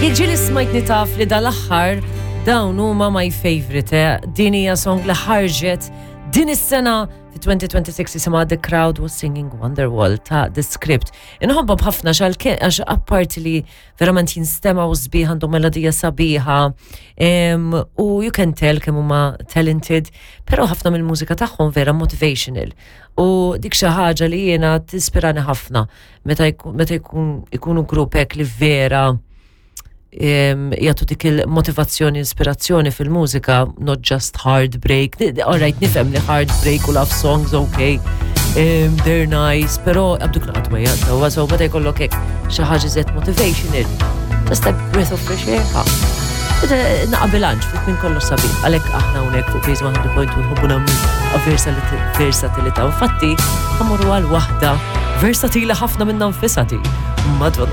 Jekk ġieli smajtni taf li dal-aħħar dawn huma my favorite, eh? Din hija song li ħarġet din is-sena fi 2026 jisimha The Crowd Was Singing Wonderwall ta' The Script. Inħobbhom ħafna għax apparti li verament jinstemaw sbieħ għandhom melodija sabiħa u you can tell kemm huma talented, però ħafna mill-mużika tagħhom vera motivational. U dik xi ħaġa li jiena tispirani ħafna meta jkun ikunu grupp hekk li vera jagħtu dik il-motivazzjoni, ispirazzjoni fil-mużika, not just heartbreak. All right, nifhem li heartbreak u love songs, okay, they're nice, però għabduk naqat so, so meta jkollok hekk xi ħaġa żed motivational, just a breath of fresh air. Ha. Naqa bilanċ fuq minn kollox sabiħ, għalhekk aħna hawnhekk fuq Base 100.2 nħobbu nagħmlu versatilità. Infatti, ħa mmorru għal waħda versatili ħafna minnha nfisha di. Madonna.